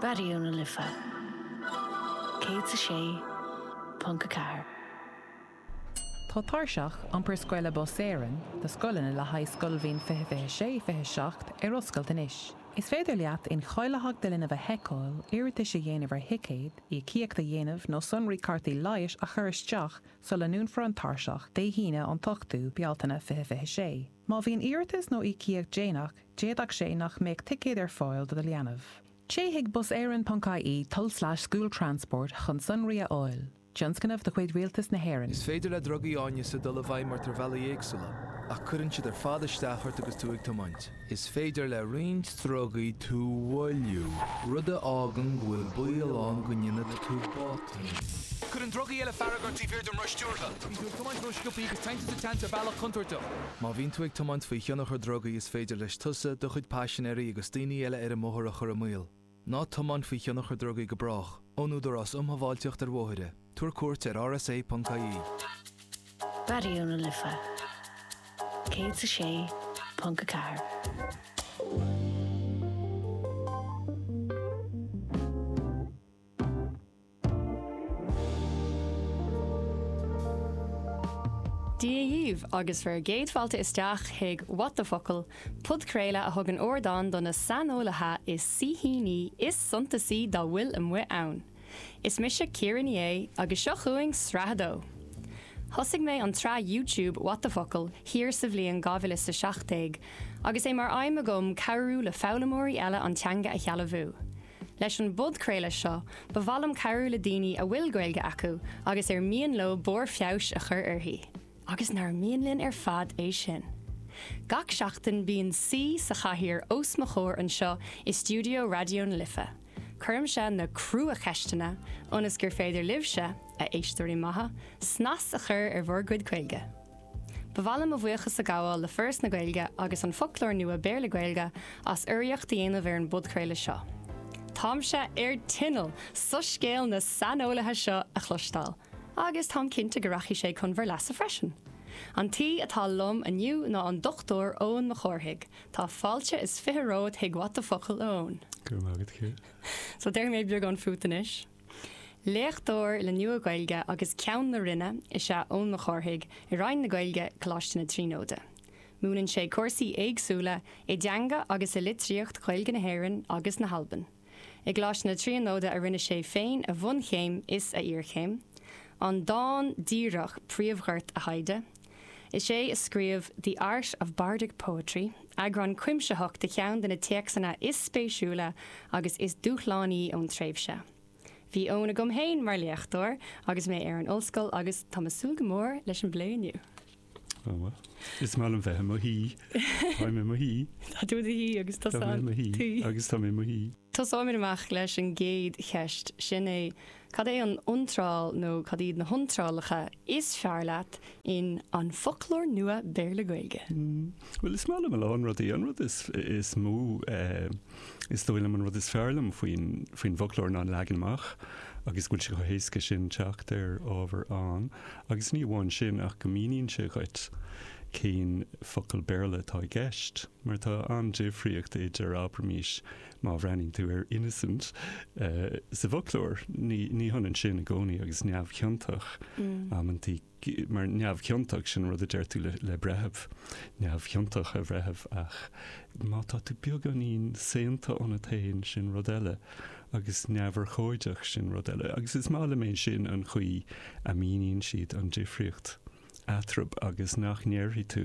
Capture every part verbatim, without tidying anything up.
Raidió na Life céad a sé ponc a ceathair. Tá tairseach iompar scoile Bus Éireann do scoileanna le haghaidh scoilbhliain fiche fiche sé fiche seacht ar oscailt anois. Is féidir leat incháilitheacht do linbh a sheiceáil, iarratais a dhéanamh ar thicéid, íocaíocht a dhéanamh nó sonraí cártaí leighis a chur isteach sula ndúnfar an tairseach Dé hAoine an t-ochtú Bealtaine fiche fiche sé. Má bhíonn iarratas nó íocaíocht déanach, d'fhéadfadh sé nach mbeadh ticéad ar fáil do do leanbh. Téigh chuig buséireann.ie tulslais school transport chun sonraí a fháil. Tionscnamh de chuid Rialtas na hÉireann. Is féidir le drugaí áineasa dul i bhfeidhm ort ar bhealaí éagsúla, ach cuireann siad ar fad isteach ort agus tú ag tiomáint. Is féidir le roinnt drugaí tú a mhoilliú, rud a fhágann go bhfuil baol ann go ndéanfaidh tú botún. Cuireann drugaí eile fearg ort taobh thiar den roth stiúrtha. Bíonn tú ag tiomáint ró-sciobtha agus téann tú sa tseans ar bhealach contúirteach. Má bhíonn tú ag tiomáint faoi thionchar drugaí is féidir leis tusa, do chuid paisinéirí agus daoine eile ar an mbóthar a chur i mbaol. Ná tiomáin faoi thionchar drugaí go brách. Ón Údarás um Shábháilteacht ar Bhóithre. Tabhair cuairt ar rsa.ie. Raidió na Life céad a sé ponc a ceathair. Dia dhaoibh agus bhur gcéad fáilte isteach chuig What the Focal, podchraoladh a thugann ardán do na saineolaithe is saoithíní is suntasaí dá bhfuil amuigh ann. Is mise Ciara Ní É agus seo chugainn sraith a dó. Thosaigh mé an tsraith YouTube What the Focal thiar sa bhliain dhá mhíle is a seacht déag agus é mar aidhm agam cabhrú le foghlaimeoirí eile an teanga a shealbhú. Leis an bpodchraoladh seo, ba mhaith liom cabhrú le daoine a bhfuil Gaeilge acu agus ar mian leo barr feabhais a chur uirthi. Agus nár mian linn ar fad é sin. Gach seachtain bíonn saoi sa chathaoir os mo chomhair anseo i stiúideo Raidió na Life. Cuirimse na cruacheisteanna ionas gur féidir libhse, a éisteoirí maithe, snas a chur ar bhur gcuid Gaeilge. Ba mhaith liom mo bhuíochas a ghabháil le Foras na Gaeilge agus an Foclóir Nua Béarla-Gaeilge as urraíocht a dhéanamh ar an bpodchraoladh seo. Táimse ar tinneall soiscéal na saineolaithe seo a chloisteáil, agus táim cinnte go rachaidh sé chun bhur leasa freisin. An t-aoi atá liom inniu ná an Dochtúir Eoin Mac Cárthaigh. Tá fáilte is fiche romhat chuig What the Focal, a Eoin. Go raibh maith agat, Ciara. So déarfaidh mé beagán fút anois. Léachtóir le Nua-Ghaeilge agus Ceann na Roinne is ea Eoin Mac Cárthaigh i Roinn na Gaeilge, Coláiste na Tríonóide. Múineann sé cúrsaí éagsúla i dteanga agus i litríocht Ghaeilge na hÉireann agus na hAlban. I gColáiste na Tríonóide a rinne sé féin a bhunchéim is a iarchéim. An dán díreach príomhghort a thaighde. Is é a scríobh The Art of Bardic Poetry, eagrán cuimsitheach de cheann de na téacsanna is spéisiúla agus is dúshlánaí ón tréimhse. Bhí Eoin agam féin mar léachtóir agus mé ar an ollscoil agus táim ag súil go mór leis an bplé inniu. Ó bhuel, is maith liom bheith i mo shuí. Táim i mo shuí. Tá tú i do shuí agus Tá mé i mo shuí agus tá mé i mo shuí. Tosóimid amach leis an gcéad cheist, sin é, cad é an iontráil nó cad iad na hiontrálacha is fearr leat in An Foclóir Nua Béarla-Gaeilge? Bhuel, is maith liom a lán rudaí. An rud is is mó, is dóigh liom, an rud is fearr liom faoin faoin bhfoclóir ná an leagan amach agus go bhfuil sé chomh héasca sin teacht ar ábhar ann. Agus ní amháin sin ach go míníonn sé dhuit cén focal Béarla atá i gceist, mar tá an-difríocht idir, abraimis, má bhreathnaíonn tú ar innocent sa bhfoclóir, ní ní hionann sin i gcónaí agus neamhchiontach. Amantaí, mar neamhchiontach, sin an rud a deir tú le le breitheamh, neamhchiontach, a bhreithimh, ach má tá tú beagáinín saonta ionat féin, sin rud eile, agus neamhurchóideach, sin rud eile. Agus is maith liom é sin, an chaoi a míníonn siad an difríocht eatarthu agus nach ndéarfaidh tú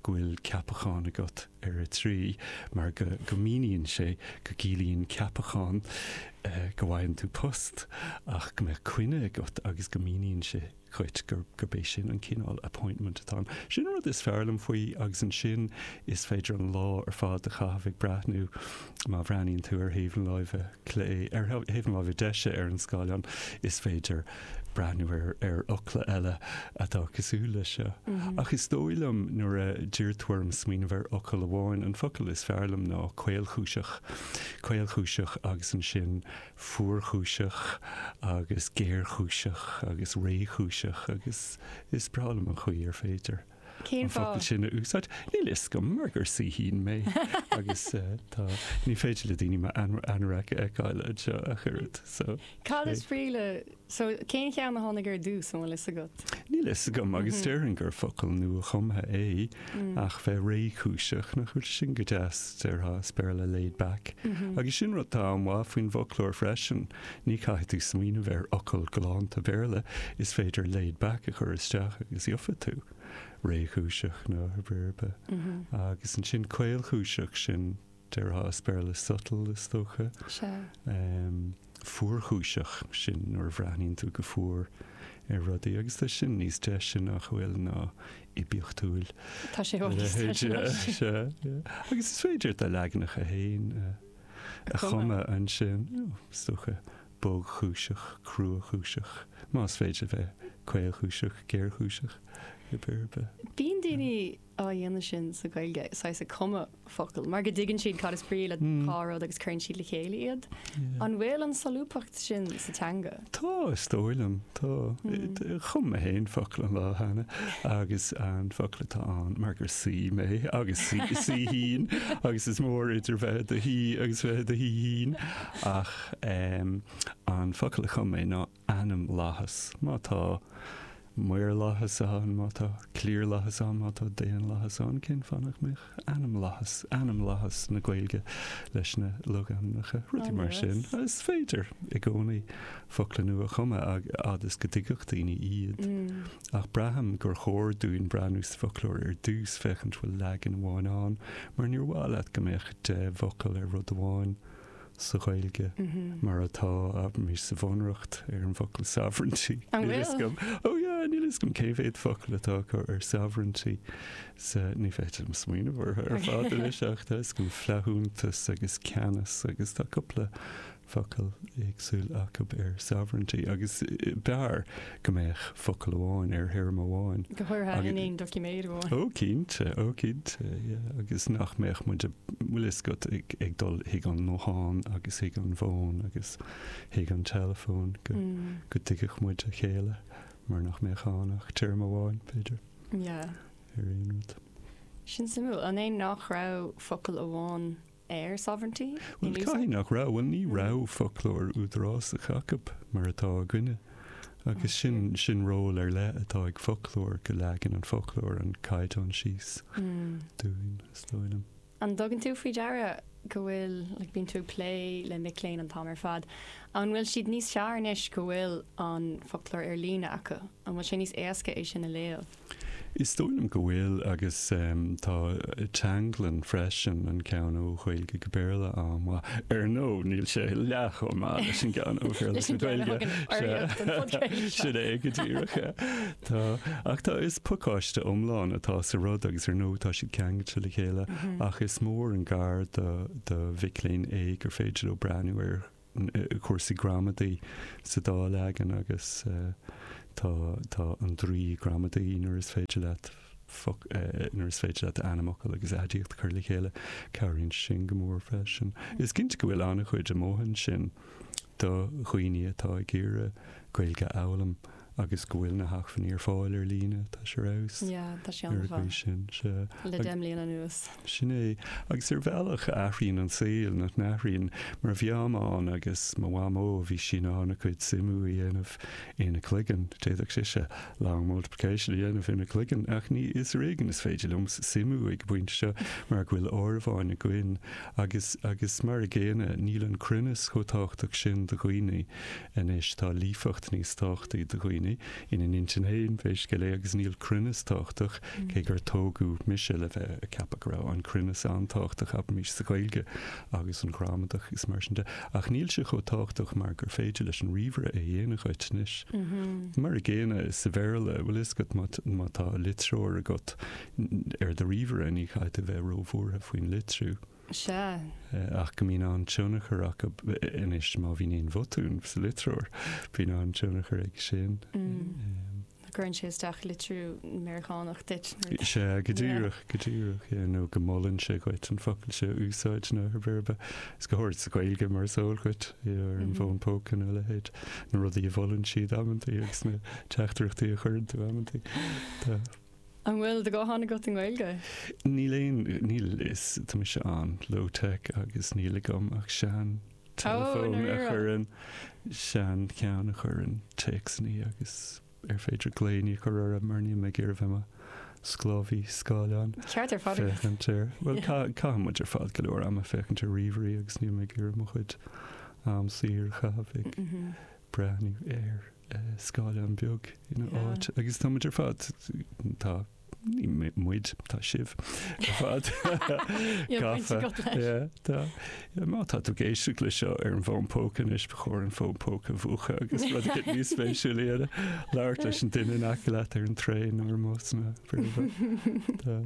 go bhfuil ceapachán agat ar a trí mar go go míníonn sé go gciallaíonn ceapachán go bhfaigheann tú post ach go mbeadh coinne agat agus go míníonn sé dhuit gur gurb é sin an cineál appointment atá ann. Sin an rud is fearr liom faoi agus ansin is féidir an lá ar fad a chaitheamh ag breathnú má bhreathnaíonn tú ar thaobh na láimhe clé, ar thaobh na láimhe deise ar an scáileán is féidir breathnú ar ar fhocla eile atá cosúil leis seo. Ach is dóigh liom nuair a d'iarr tú orm smaoineamh ar fhocal amháin, an focal is fearr liom ná caolchúiseach. Caolchúiseach agus ansin fuarchúiseach agus géarchúiseach agus réchúiseach agus is breá liom an chaoi ar féidir Cén an focal fáth? sin a úsáid. Níl a fhios agam mar gur saoithín mé agus eh, tá ní féidir le daoine m'anorak a fheiceáil anseo ach oiread. So Cad is brí le so cén cheann a tháinig ar dtús an bhfuil fhios agat? Níl fhios agam agus Mhm. déarfainn gur focal nua-chumtha é Mm. ach bheith réchúiseach nach bhfuil sin go deas déarfá as Béarla laid back. Mhm. Agus sin rud atá an-mhaith faoin bhfoclóir freisin, ní caithfidh tú smaoineamh ar fhocal galánta Béarla is féidir laid back a chur isteach agus gheobhaidh tú réchúiseach nó verba. Mhm. Agus ansin caolchúiseach sin déarfá as Béarla subtle is dócha. Sea. Um, fuarchúiseach sin nuair a bhreathnaíonn tú go fuar ar rudaí agus tá sin níos deise nach bhfuil ná oibiachtúil. Tá sé thall Agus is féidir do leaganacha féin a chumadh ansin is dócha bogchúiseach, cruachúiseach, más féidir bheith caolchúiseach, géarchúiseach i b'be. Bíonn daoine á dhéanamh sin sa Ghaeilge saghas ag cumadh focal, mar go dtuigeann siad cad is brí le Mm. dhá rud agus cuireann siad le chéile iad. An bhfuil an solúbthacht sin sa teanga? Tá is dóigh liom tá Mm. chum mé féin focal an lá cheana agus an focal atá ann mar gur saoi mé agus saoithín agus is mór idir bheith i do shaoi agus bheith i do shaoithín ach um, an focal a chum mé ná ainmlathas má tá maorlathas ann má tá cliarlathas ann má tá daonlathas ann cén fáth nach mbeadh ainmlathas ainmlathas na Gaeilge leis na logainmneacha rudaí mar sin is féidir i gcónaí focla nua a chumadh agus go dtuigfeadh daoine iad. Mm. Ach braithim gur chóir dúinn breathnú sa foclóir ar dtús féachaint bhfuil leagan amháin ann, mar níor mhaith leat go mbeadh deich bhfocal ar rud amháin sa Ghaeilge Mhm. mar atá abraimis sa bhunreacht ar an bhfocal sovereignty. An Níl fhios bhfuil? agam. Ó yeah, níl fhios agam cé mhéad focal atá acu ar sovereignty sa ní féidir liom smaoineamh orthu ar fad anois ach tá fhios agam flaithiúntas agus ceannas agus tá cúpla focal éagsúil acu ar sovereignty agus eh, b'fhearr go mbeadh focal amháin ar théarma amháin. Go háirithe Agus- in aon doiciméad amháin. Ó cinnte, ó cinnte, yeah. agus nach mbeadh muid bhfuil fhios agat ag, ag dul chuig an nguthán agus chuig an bhfón agus chuig an teileafón go, Mm. go dtuigfeadh muid a chéile mar nach mbeadh ann ach téarma amháin b'fhéidir Yeah. ar aon rud. Sin suimiúil an é nach raibh focal amháin ar sovereignty? Well in úsáid? caithfidh nach raibh, well ní Mm. raibh foclóir údarásach acu mar atá againne. Agus sin sin ról ar leith atá ag foclóir go leagann an foclóir an caighdeán síos Mm. dúinn is dóigh liom. An dtugann tú faoi deara go bhfuil like, bíonn tú ag plé le mic léinn an t-am ar fad. An bhfuil siad níos fearr anois go bhfuil an foclóir ar líne acu? An bhfuil sé níos éasca é sin a léamh? Is dóigh liom go bhfuil agus um, tá Teanglann freisin an ceann ó Ghaeilge go Béarla an-mhaith. Ar ndóigh níl sé leath chomh maith leis an gceann ó Bhéarla Leis an go gceann a Gaeilge. thugann urraíocht don phodchraoladh seo. Sin é go díreach. Tá ach tá is pacáiste iomlán atá sa rud agus ar ndóigh tá siad ceangailte le chéile Mhm. ach is mór an gar do do mhic léinn é gur féidir leo breathnú ar eh, cúrsaí gramadaí sa dá leagan agus eh, tá tá an draoi gramadaí nuair is féidir leat foc- eh, nuair is féidir leat ainmfhocal agus aidiacht a chur le chéile cabhraíonn sin go mór freisin. Is cinnte go bhfuil an-chuid amuigh ansin do dhaoine atá ag iarraidh Gaeilge a fhoghlaim agus go bhfuil na hacmhainní ar fáil ar líne tá sé ar Yeah, tá sé ar an an-mhaith. gcaoi sin se. Le Ag- deich mbliana anuas. Sin é agus ar bhealach athraíonn an saol nach n-athraíonn mar bhí am ann agus mo mhamó bhí sí in ann a cuid suimiú a dhéanamh ina cloigeann d'fhéadfadh sise long multiplication a dhéanamh ina cloigeann ach ní is ar éigean is féidir liom suimiú ag an bpointe seo mar go bhfuil áireamháin againn agus agus mar a gcéanna níl an cruinneas chomh tábhachtach sin do dhaoine anois tá líofacht níos tábhachtaí do dhaoine ina n-intinn féin pé scéal é agus níl cruinneas tábhachtach cé gur tógadh mise le bheith ag ceapadh go raibh an cruinneas an-tábhachtach abraimis sa Ghaeilge agus an ghramadach is mar sin de ach níl sé chomh tábhachtach mar gur féidir leis an ríomhaire é dhéanamh dhuit anois. Mhm. Mar a gcéanna sa Bhéarla bhfuil fhios agat má má tá litreoir agat ar do ríomhaire ní chaithfidh tú bheith róbhuartha faoin litriú. Sea. Eh, ach go mbíonn an tionchar acu anois má bhíonn aon bhotún sa litreoir bíonn an tionchar ag sin. Mm. Um, Cuireann sé isteach litriú Meiriceánach duit. Sé go díreach go díreach nó go molann sé dhuit an focal seo a úsáid nó ar verba. Is go háirithe sa Ghaeilge mar is eol dhuit ar an Mhm. bhfón póca nó leithéid na rudaí a mholann siad amantaí agus na teachtaireachtaí a chuireann tú amantaí. Tá An bhfuil do ghuthán agat i nGaeilge? Níl aon níl is tá mise an low-tech agus níl agam ach sean telefón a dáiríre? chuireann sean cheann a chuireann téacsanna agus ar féidir glaonna a chur orthu mar níl mé ag iarraidh bheith i mo sclábhaí scáileán. Ceart ar fad. Féachaint ar well caithim muid ar fad go leor ama féachaint ar ríomhairí agus níl mé ag iarraidh mo chuid am saor a chaitheamh ag Mhm. breathnú ar eh, scáileán beag ina Yeah. áit agus tá muid ar fad tá ní mi- muid tá sibh ar fad Níl baint gafa. agat leis. Yeah, tá yeah, má tá tú ag éisteacht le seo ar an bhfón póca anois ba chóir an fón póca a mhúchadh agus rud éigin níos spéisiúla a labhairt leis an duine in aice leat ar an traein nó ar an mbus nó Tá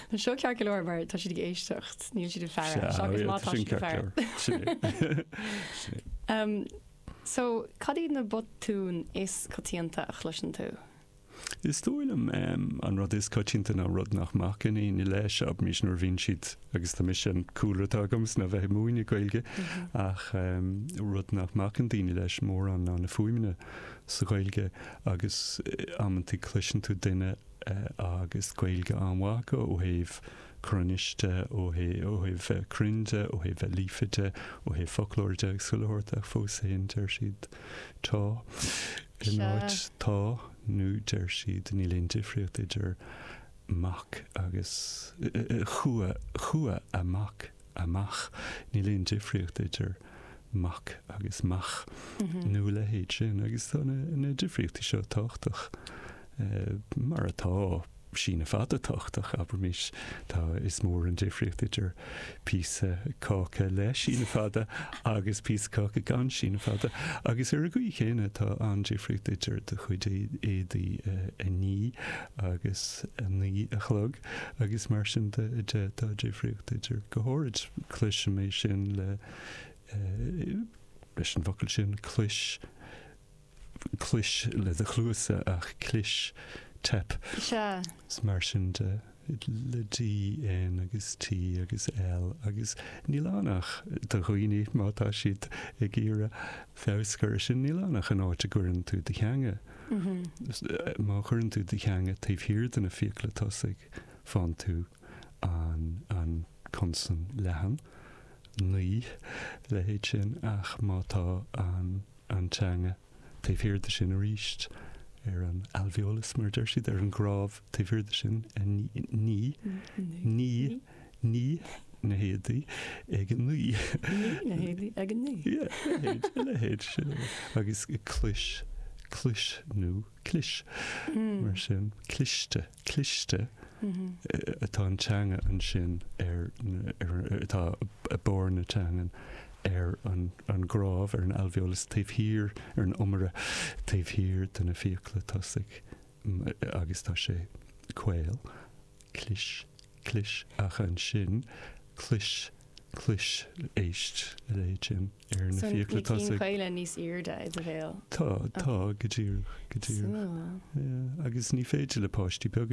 Tá seo ceart go leor mar tá siad ag éisteacht, níl siad ag faire seachas má tá sin siad ag faire. ceart leor. Sin é. Um, so cad iad na botúin is coitianta a chloiseann tú? Is dóigh liom um, an rud is coitianta ná rud nach mbacann éinne leis abraimis nuair a bhíonn siad agus tá mise an cúlra atá agam ná bheith ag múineadh Gaeilge ach um, rud nach mbacann daoine leis mórán ná na fuaimeanna sa Ghaeilge agus eh, amantaí cloiseann tú duine eh, agus Gaeilge an-mhaith acu ó thaobh cruinnis de ó thaobh ó thaobh bheith cruinn de ó thaobh bheith líofa de ó thaobh foclóir de agus chuile shórt ach fós féin deir siad tá in Sea. áit tá nó deir siad níl aon difríocht idir mac agus eh, eh, chua chua amach amach níl aon difríocht idir mac agus mach Mhm. nó leithéid sin agus tá na, na difríochtaí seo tábhachtach eh, mar atá síneadh fada tábhachtach abraimis tá is mór an difríocht idir píosa cáca le síneadh fada agus píosa cáca gan síneadh fada agus ar an gcaoi chéanna tá an difríocht idir do chuid éadaí eh, a ní agus a naoi a chlog agus mar sin de de tá difríocht idir go háirid cloisim é sin le eh, leis an bhfocal sin clis clis le do chluasa ach clis teip Sea. Is mar sin de le D N agus T agus L agus níl ann ach do dhaoine má tá siad ag iarraidh feabhas a chur sin níl ann ach an áit a gcuireann tú do theanga. Mhm. Is, eh, Má chuireann tú do theanga taobh thiar de na fiacla tosaigh faigheann tú an an consan leathan naoi leithéid sin ach má tá an an teanga taobh thiar de sin arís ar an alveolus mar deir siad ar an gcnámh taobh thiar de sin a ní ní ní ní na héadaí ag an naoi Ní na héadaí ag an naoi. Yeah, leithéid leithéid sin agus clis clis nó clis Mm. mar sin cliste cliste Mhm. eh, atá an teanga ansin ar ar atá a barr na teangan ar an, an gcnámh ar an alveolus taobh thiar ar an iomaire taobh thiar de na fiacla tosaigh m- agus tá sé caol clis clis ach ansin clis clis éist a leithéid sin ar na So fiacla na cinn tosaigh chaola níos airde i do bhéal. Tá tá go díreach go díreach So. Yeah, agus ní féidir le páistí beaga